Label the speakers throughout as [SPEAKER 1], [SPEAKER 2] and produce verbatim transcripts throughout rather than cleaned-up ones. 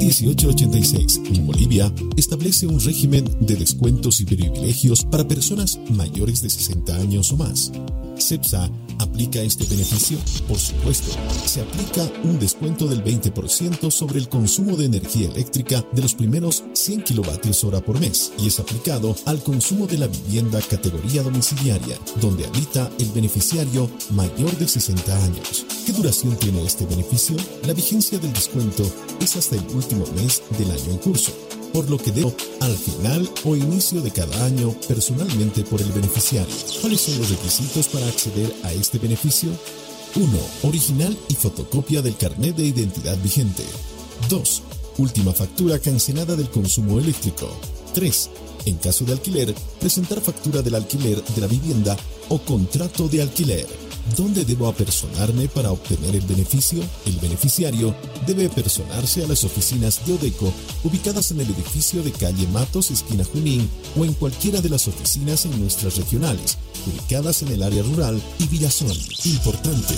[SPEAKER 1] dieciocho ochenta y seis en Bolivia establece un régimen de descuentos y privilegios para personas mayores de sesenta años o más. CEPSA aplica este beneficio? Por supuesto, se aplica un descuento del veinte por ciento sobre el consumo de energía eléctrica de los primeros cien kilovatios hora por mes y es aplicado al consumo de la vivienda categoría domiciliaria, donde habita el beneficiario mayor de sesenta años. ¿Qué duración tiene este beneficio? La vigencia del descuento es hasta el último mes del año en curso, por lo que debo al final o inicio de cada año personalmente por el beneficiario. ¿Cuáles son los requisitos para acceder a este beneficio? uno. Original y fotocopia del carnet de identidad vigente. dos. Última factura cancelada del consumo eléctrico. tres. En caso de alquiler, presentar factura del alquiler de la vivienda o contrato de alquiler. ¿Dónde debo apersonarme para obtener el beneficio? El beneficiario debe apersonarse a las oficinas de Odeco ubicadas en el edificio de calle Matos, esquina Junín, o en cualquiera de las oficinas en nuestras regionales, ubicadas en el área rural y Villazón. Importante,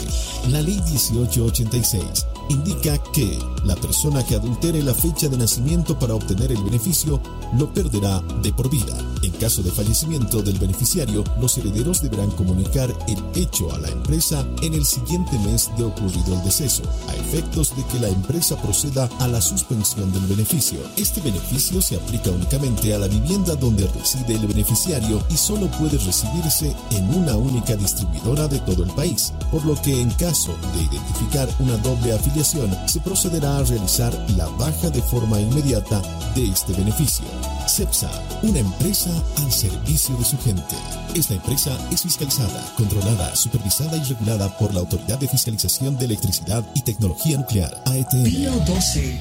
[SPEAKER 1] la Ley dieciocho ochenta y seis indica que la persona que adultere la fecha de nacimiento para obtener el beneficio lo perderá de por vida. En caso de fallecimiento del beneficiario, los herederos deberán comunicar el hecho a la empresa en el siguiente mes de ocurrido el deceso, a efectos de que la empresa proceda a la suspensión del beneficio. Este beneficio se aplica únicamente a la vivienda donde reside el beneficiario y solo puede recibirse en una única distribuidora de todo el país, por lo que en caso de identificar una doble afiliación, se procederá a realizar la baja de forma inmediata de este beneficio. CEPSA, una empresa al servicio de su gente. Esta empresa es fiscalizada, controlada, supervisada y regulada por la Autoridad de Fiscalización de Electricidad y Tecnología Nuclear, A E T M.
[SPEAKER 2] Pío doce.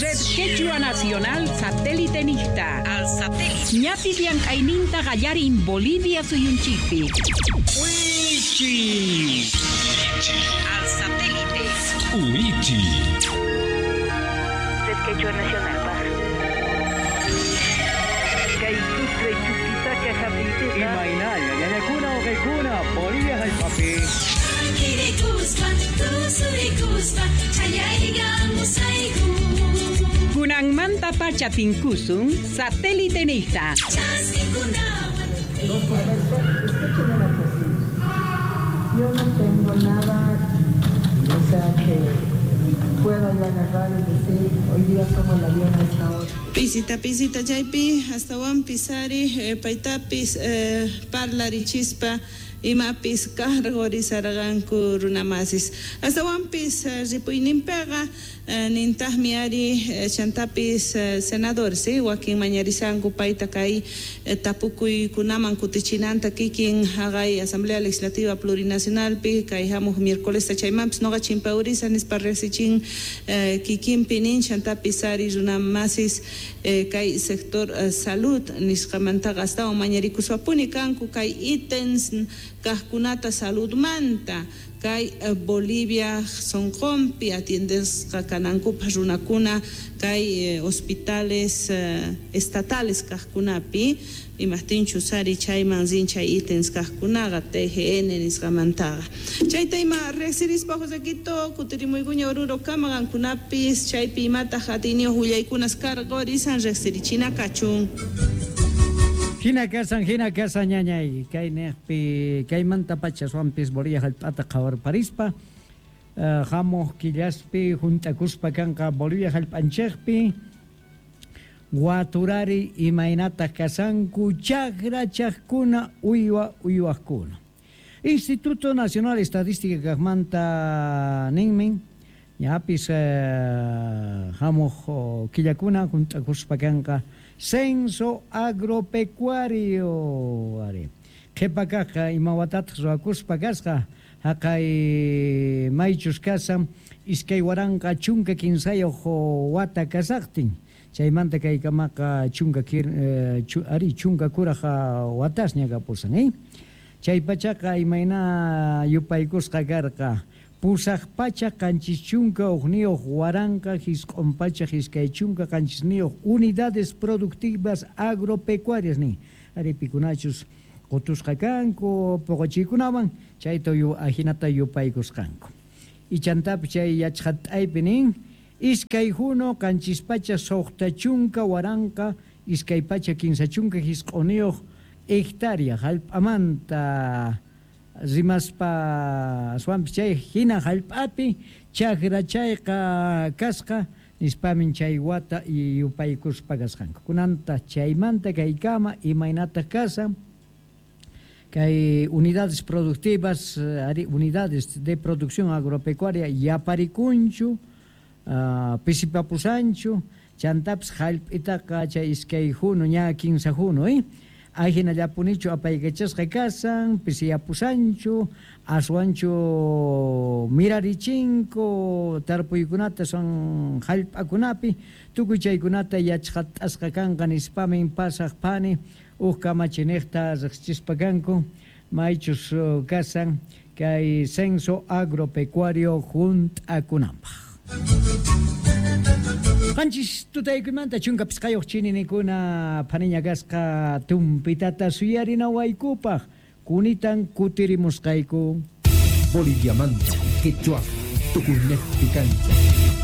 [SPEAKER 3] Red Quechua Nacional Satélite Nista.
[SPEAKER 4] Al satélite.
[SPEAKER 3] Ñapi llank'ayninta qallarin Bolivia suyunchikpi.
[SPEAKER 2] Wichi.
[SPEAKER 4] Al satélite.
[SPEAKER 2] Wichi.
[SPEAKER 5] Red Quechua Nacional Paz.
[SPEAKER 6] Imaynalla, ñañakuna uqaykuna, Bolivia hallp'api.
[SPEAKER 3] Kunanmanta pacha tinkusun satélite nista.
[SPEAKER 7] Yo no tengo nada, o sea, que pueda yo agarrar y decir, hoy día tomo el avión a esta hora.
[SPEAKER 8] Pisita, pisita, chaypi, hasta pisari, eh, paytapis, eh, parlarichispa, imapis cargorizarqanku runamasis. Astawanpis eh, ripuyninpiqa eh, nintaqmi ari eh, chantapis eh, senadores eh, wakin mañarisanku payta kay eh, tapukuykunaman kutichinanta kikin haqay Asamblea Legislativa Plurinacionalpi kay hamuq miércolesta chaymanpis noqa chimpawrisa nispa riqsichin eh, kikinpi nin chantapis ari runamasis eh, kay sector eh, salud nisqamantaqa astawan mañarikuswapuni kanku kay ítems kaqkunata saludmanta kay Bolivia sonqonpi atiendesqa kanankupaq runakuna kay eh, hospitales eh, estatales kaqkunapi imaqtinchus ari chayman rin chay ítems kaqkunaqa T G N nisqamantaqa chayta ima riqsirispa Josequito kutirimuykuña Oruro kama qankunapis chaypi imataq atiyniyuq willaykunas karqurisan riqsirichina kachun.
[SPEAKER 9] Hina kasan, hina kasan, ñañay, kay neqpi, kaymanta pacha suampis Bolivia hallp'ata qhawarparispa, uh, hamuq killaspi hunt'akuspa kanqa Bolivia hallp'anchikpi, waturari imaynataq kasanku chakra chaqkuna uywa uywaqkuna. Instituto Nacional Estadística kaqmanta ninmin, ñapis uh, hamuq killakuna hunt'akuspa kanqa Censo agropecuario. Ari. Qhipa kaqqa imawatataq ruwakuspa kasqa haqay maychus kasan iskay waranqa chunka kinsayuq wata kasaqtin chaymanta kaykamaqa chunka kir, eh, chu, ari chunka kuraqa watasña kapusan eh? Chay pachaqa imayna yupaykusqa karqa pusaq pacha qanchis chunka uqniyuq waranqa hisq'un pacha iskay chunka qanchisniyuq unidades productivas agropecuarias nin ari pikunachus qutusqa kanku puquchiykunawan chayta yu, ajinata yupaykusqanku ichantapi chay yachqat'aypi nin Iskay huno qanchis pacha suqta chunka waranqa iskay pacha kinsa chunka hisq'uniyuq hectárea hallp'amanta rimaspa aswanpis chay hina hallp'api chakra chayqa kasqa nispamin chay wata yupaykuspa kasqanku. Kunanta chaymanta kaykama imaynataq kasan kay unidades productivas, unidades de producción agropecuaria yaparikunchu, uh, pisipapusanchu, chantapis hallp'itaqa chay iskay huno ña kinsa huno, eh? Ajinallapunichu apaykachasqa kasan, pisiyapusanchu, aswanchu mirarichinku tarpuykunata son hallp'akunapi, tukuy chaykunata yachqat'asqa kanqa nispamin pasaq phani uj kamachiniqta riqsichispa kanku maychus kasan kay censo agropecuario junt'akunanpaq. Qanchis tutaykuymanta chunka pisqayuq chininikuna phaniña kasqa tumpitata suyarinawaykupaq kunitan kutirimusqayku.
[SPEAKER 2] Boliviamanta, quechua, tukuynejpi kancha.